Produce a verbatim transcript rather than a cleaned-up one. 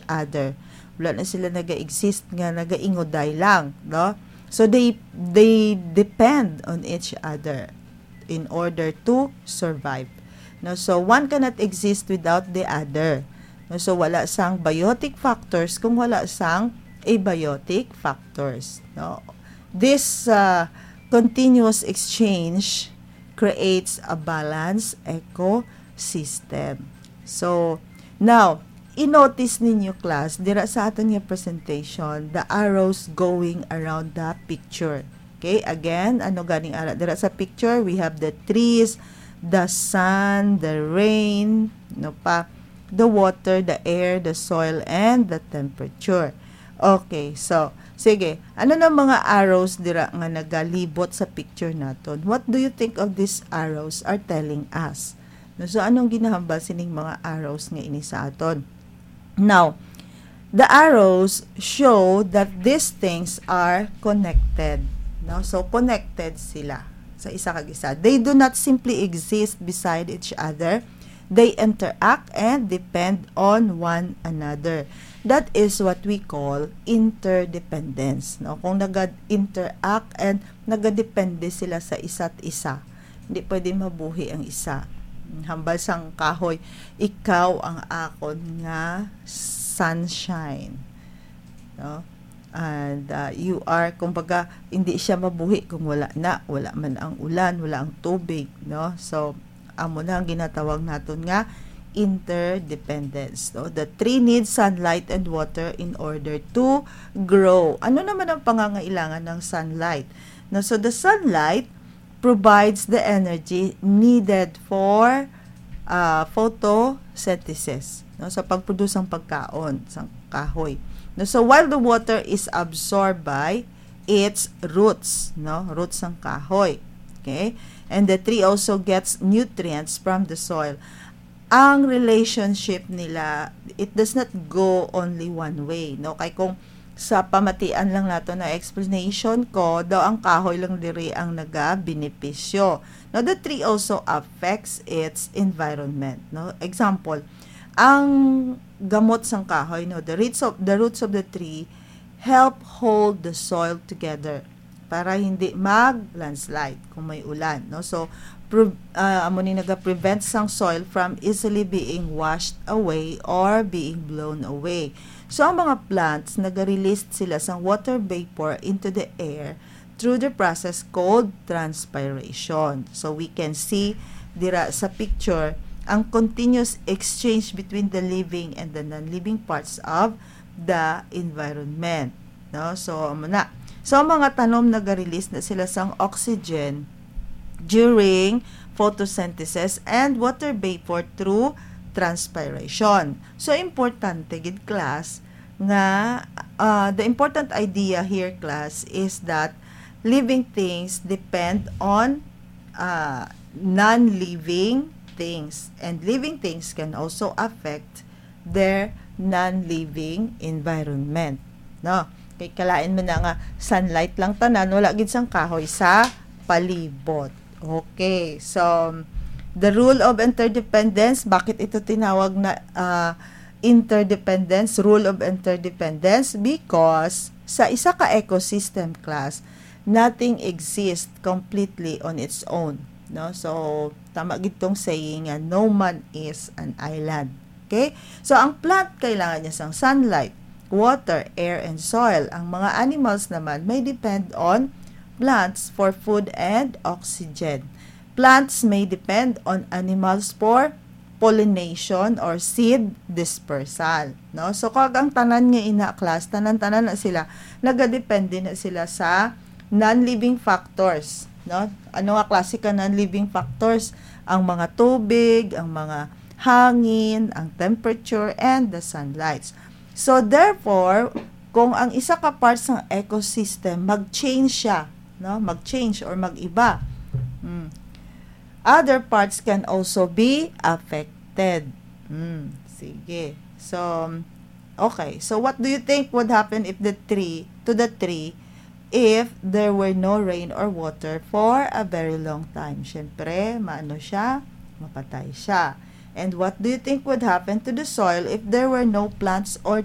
other. Wala na sila naga-exist nga nagainguday lang, no? So they they depend on each other in order to survive. No, so one cannot exist without the other. No, so wala sang biotic factors kung wala sang abiotic factors, no? This uh, continuous exchange creates a balanced ecosystem. So, now, i-notice ninyo, class, dira sa aton nga presentation, the arrows going around the picture. Okay, again, ano ganing ara dira sa picture? We have the trees, the sun, the rain, no pa, the water, the air, the soil, and the temperature. Okay, so, sige, ano na mga arrows dira nga nagalibot sa picture naton? What do you think of these arrows are telling us? No, so, anong ginahambal sining mga arrows nga ini sa aton? Now, the arrows show that these things are connected. No? So, connected sila sa isa kag isa. They do not simply exist beside each other. They interact and depend on one another. That is what we call interdependence. No? Kung nag-interact and nagadepende sila sa isa't isa, hindi pwede mabuhi ang isa. Hambal sang kahoy, ikaw ang akon nga sunshine. No? And uh, you are, kumbaga, hindi siya mabuhi kung wala na, wala man ang ulan, wala ang tubig, no? So, amo na ang ginatawag naton nga interdependence, no? The tree needs sunlight and water in order to grow. Ano naman ang pangangailangan ng sunlight? No, so the sunlight provides the energy needed for uh, photosynthesis, no, sa pagproduce ng pagkaon sa kahoy. No, so while the water is absorbed by its roots, no, roots ng kahoy. Okay? And the tree also gets nutrients from the soil. Ang relationship nila, it does not go only one way, no? Kay kung sa pamatian lang nato na explanation ko, daw ang kahoy lang diri ang nagabenepisyo. Now, the tree also affects its environment, no? Example, ang gamot sang kahoy, no? The roots of the roots of the tree help hold the soil together para hindi mag-landslide kung may ulan, no? So, pre- ah, amo ni naga-prevent sang soil from easily being washed away or being blown away. So, ang mga plants, naga-release sila sang water vapor into the air through the process called transpiration. So, we can see dira sa picture ang continuous exchange between the living and the non-living parts of the environment. No? So, amo na. So, ang mga tanom naga-release na sila sang oxygen during photosynthesis and water vapor through transpiration. So, importante gid, class, nga uh, the important idea here, class, is that living things depend on uh, non-living things, and living things can also affect their non-living environment. No? Kay kalain man na nga sunlight lang tanan, wala gid sang kahoy sa palibot. Okay, so the rule of interdependence, bakit ito tinawag na uh, interdependence, rule of interdependence? Because sa isa ka ecosystem, class, nothing exists completely on its own. No? So, tama gid tong saying nga, "No man is an island." Okay? So, ang plant kailangan niya sang sunlight, water, air, and soil. Ang mga animals naman may depend on plants for food and oxygen. Plants may depend on animals for pollination or seed dispersal, no? So, kag ang tanan nga ina, class, tanan-tanan na sila, nagadepende na sila sa non-living factors, no? Ano nga klase ka non-living factors? Ang mga tubig, ang mga hangin, ang temperature, and the sunlight. So, therefore, kung ang isa ka part sang ecosystem, mag-change siya, no? Mag-change or mag-iba. Hmm. Other parts can also be affected. Hmm. Sige. So, okay. So, what do you think would happen if the tree, to the tree, if there were no rain or water for a very long time? Siyempre, maano siya? Mapatay siya. And what do you think would happen to the soil if there were no plants or